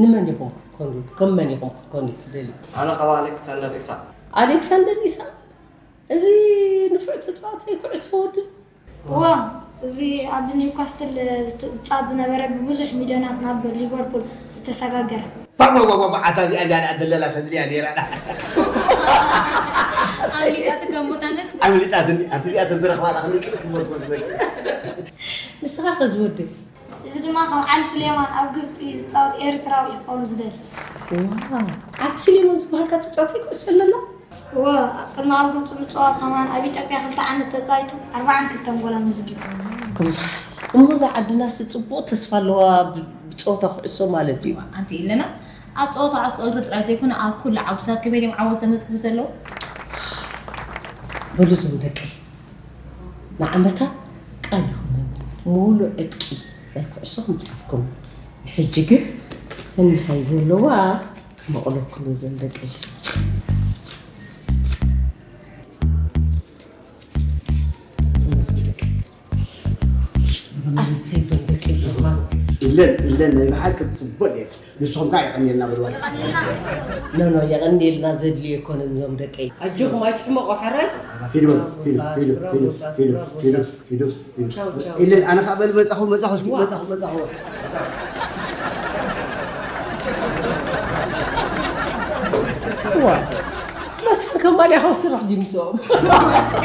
ንመን ኢኹም ክትኮኑ፣ ከም መን ኢኹም ክትኮኑ ትደልዩ? ኣነ ከም ኣሌክሳንደር ኢሳቕ። ኣሌክሳንደር ኢሳቕ? እዚ ንፉዕ ተጻዋታይ ኩዕሶ ወድን? እዋ፣ እዚ ኣብ ኒውካስትል ዝተ-፣ ዝጻወት ዝነበረ ብብዙሕ ሚልዮናት ናብ ሊቨርፑል ዝተሰጋገረ። ባባባባ፣ ኣታ እዚኣ እንድያ ደኣ ደለላ ተድልያ ነይራ ደኣ። ኣምሊጣትካ እሞ እታ መስል። ኣምሊጣትኒ፣ ኣብቲ እዚኣ ተዝረኽባ ደኣ ክንቅልፍ እሞ ትመስለኒ። ንስኻ ኸ ዝወድን? እዚ ድማ ከም ዓሊ ሱሌማን ኣብ ግብጺ ዝጻወት ኤርትራዊ ክኸውን ዝደሊ። ዋው፣ ዓሊ ሱሌማን ዝበሃልካ ተጻዋታይ ኩዕሶ ኣለና? እወ፣ ቅድሚ ኣብ ግብጺ ምጽዋት ከማን ኣብ ኢትዮጵያ ክልተ ዓመት ተጻይቱ ኣርባዓን ክልተን ጎል ኣመዝጊቡ። እሞ እዛ ዓድናስ ጽቡቕ ተስፋ ኣለዋ ብ-፣ ብጸወታ ኩዕሶ ማለት እዩ። ኣንቲ ኢለና ኣብ ጸወታ ኩዕሶ እግሪ ጥራይ ዘይኮነ ኣብ ኩሉ ዓውድታት ከመይ ድዮም ዓወት ዘመዝግቡ ዘለዉ? በሉ እዞም ደቀይ፣ ንዓመታ ቃል ይኹነኒ፣ ሙሉእ ዕጥቂ ናይ ኩዕሶ ክምጻልኩም። ንሕጂ ግን ተን ምሳይ ዘለዋ ክመቕለኩም እየ፣ እዞም ደቀይ። ኣሰይ፣ እዞም ደቀይ ሕማት። ኢለን፣ ኢለን፣ ናይ ብሓቂ ጽቡቕ እየ። ንስኹም ከኣ የቐንየልና በልዋ። ኖ፣ ኖ፣ የቐንየልና ዘድልዮ ኣይኮነን፣ እዞም ደቀይ። ኣጆኹም፣ ኣይትሕመቑ፣ ሕራይ። ሂዱ በሉ፣ ሂዱ፣ ሂዱ፣ ሂዱ፣ ሂዱ፣ ሂዱ፣ ሂዱ፣ ሂዱ። ቻው፣ ቻው። ኢለን፣ ኣነ ከኣ በል፣ መጻኹ፣ መጻኹ፣ እስኪ፣ ዋ። መጻኹ፣ መጻኹ። ዋ። መስፍን ከማልያ ካብ ስራሕ ድዩ ምስኦም?